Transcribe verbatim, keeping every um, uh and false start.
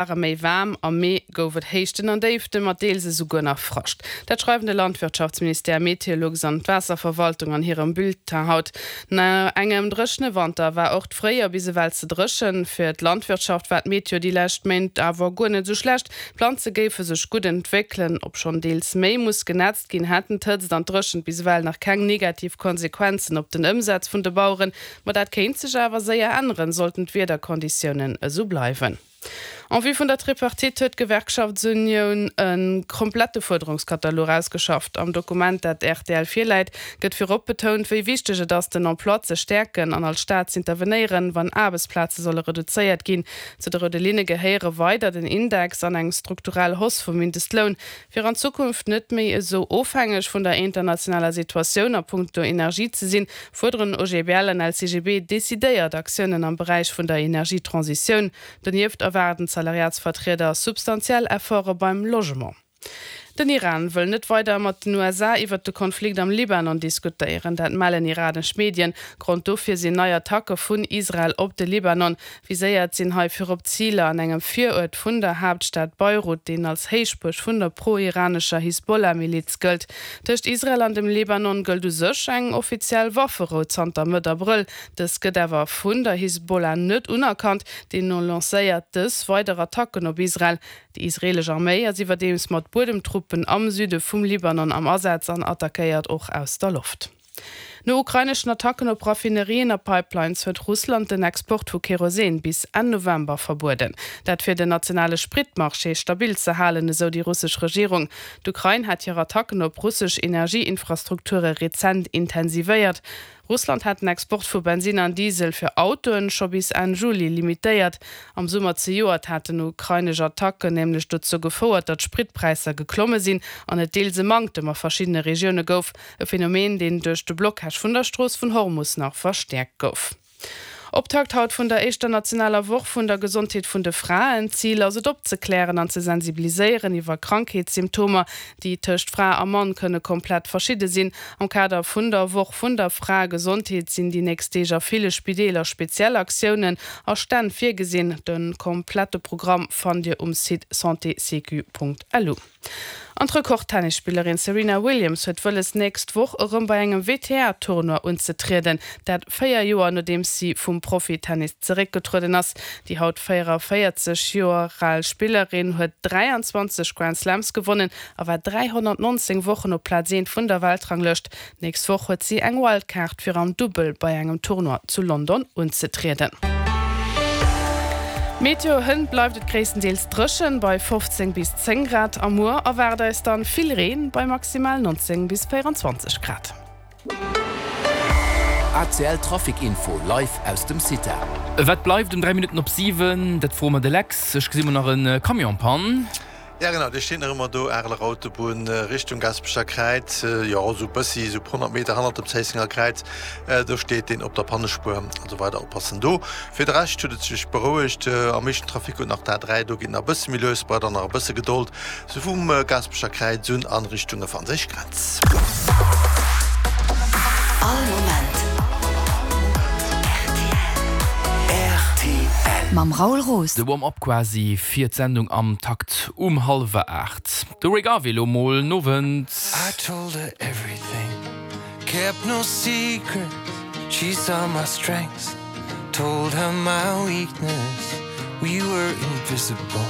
Ware méi waarm, am Mee gouf et Héichten an Déifte mat deels esouguer nach Frascht. Dat schreiwen de Landwirtschaftsministère, Meteolux an d'Waasserverwaltung an hirem Bulletin haut. No engem dréchene Wanter war och d'Fréijoer bis ewell ze dréchen. Fir d'Landwirtschaft war d'Meteo déi lescht Méint awer guer net esou schlecht. D'Planze géife sech gutt entwéckelen. Obschonn deels méi muss genätzt ginn, hätten d'Hëtzt an d'Dréchent bis ewell nach keng negativ Konsequenzen op den Ëmsaz vun de Baueren. Ma dat kéint sech awer séier änneren, sollten d'Wiederkonditiounen esou bleiwen. En vue vun der Tripartite huet d'Gewerkschaftsunioun e komplette Fuerderungskatalog ausgeschafft. Am Dokument, dat rtl virläit, gëtt virop betount, wéi wichteg et ass, den Emploi ze stäerken an als Staat z'intervenéieren, wann Aarbechtsplaze solle reduzéiert ginn. Zu de roude Linne gehéiere weider den Index an eng strukturell Hausse vum Mindestloun. Fir an Zukunft net méi esou ofhängeg vun der internationaler Situatioun a punkto Energie ze sinn, fuerderen OGBL an LCGB decidéiert Aktiounen am Beräich vun der Energietransitioun. Donieft erwaarden d'Salariatsvertrieder substantiell Efforte beim Logement. Den Iran wëll net weider mat den U S A iwwert de Konflikt am Libanon diskutéieren, dat mellen iranesch Medien. Grond dofir sinn nei Attacke vun Israel op de Libanon. Viséiert sinn hei virop Ziler an engem Viruert vun der Haaptstad Beirut, deen als Héichbuerg vun der pro-iranescher Hisbollah-Miliz gëllt. Tëscht Israel an dem Libanon gëllt u sech eng offiziell Wafferou zanter Mëtt Abrëll. Dës gëtt awer vun der Hisbollah net unerkannt, deemno lancéiert dës weider Attacken op Israel. Déi israeelesch Arméi ass iwwerdeems mat Buedemtruppen am Süde vum Libanon am Asaz an attackéiert och aus der Loft. No ukraineschen Attacken op Raffinerien a Pipelines huet Russland den Export vu Kerosin bis Enn November verbueden. Dat fir den nationale Spritmarché stabil ze halen, esou déi russesch Regierung. D'Ukrain hat hir Attacken op russesch Energieinfrastrukture rezent intensivéiert. Russland hat den Export vu Bensin an Diesel fir Autoen scho bis Enn Juli limitéiert. Am Summer zejoert haten ukrainesch Attacken nämlech dozou gefouert, datt d'Spritpräisser geklomme sinn an et deels e Manktem a verschiddene Regioune gouf, e Phenomen, deen duerch de Blockage vun der Strooss vun Hormus nach verstäerkt gouf. Optakt haut vun der éischter nationaler Woch vun der Gesondheet vun de Fraen. Zil ass et opzeklären an ze sensibiliséieren iwwer Krankheetssymptomer, déi tëscht Fra a Mann kënne komplett verschidde sinn. Am Kader vun der Woch vun der Fraegesondheet sinn déi nächst Deeg a ville Spideeler speziell Aktiounen a Stänn virgesinn. De komplette Programm fannt Dir um Site santésécu.lu. An d'Rekord-Tennisspillerin Serena Williams huet wëlles nächst Woch erëm bei engem W T A-Tournoi unzetrieden, dat véier Joer nodeems si vum Profitennis zeréckgetrueden ass. Déi haut véieranvéierzeg Joer al Spillerin huet dräianzwanzeg Grand Slams gewonnen a war dräihonnertnonzéng Wochen op Plaz eent vun der Weltranglëscht. Nächst Woch huet si eng Wildcard fir am Dubbel bei engem Tournoi zu London unzetrieden. Meteo, Hënt bleift et gréisstendeels dréchen bei fofzéng bis zéng Grad. A muer erwaart eis dann vill Reen bei maximal nonzéng bis véierunzwanzeg Grad. A C L Trafic Info live aus dem CITA. Wat bleift um dräi Minutten op siwen? Dat froe mer de Lex. Ech gesi mol nach en Camion en panne. Ja genau, dee steet nach ëmmer do, Areler Autobunn Richtung Gaasperecher Kräiz, jo esou bëssi esou honnert Meter hannert dem Zéissenger Kräiz, do steet deen op der Pannespuer, also weider oppassen do. Fir de Rescht huet et sech berouegt, am meeschten Trafic huet nach d'A dräi, do geet nach e bësse méi lues, braucht der nach e bësse Gedold, sou vum Gaasperecher Kräiz un an Richtung franséisch Grenz. All Moment R T L. Mam Raoul Roos. De Warm-up quasi fir d'Sendung am Takt um hallwer aacht. De Rick Harvey lo mol, Nowend. I told her everything, kept no secrets. She saw my strengths, told her my weakness. We were invisible.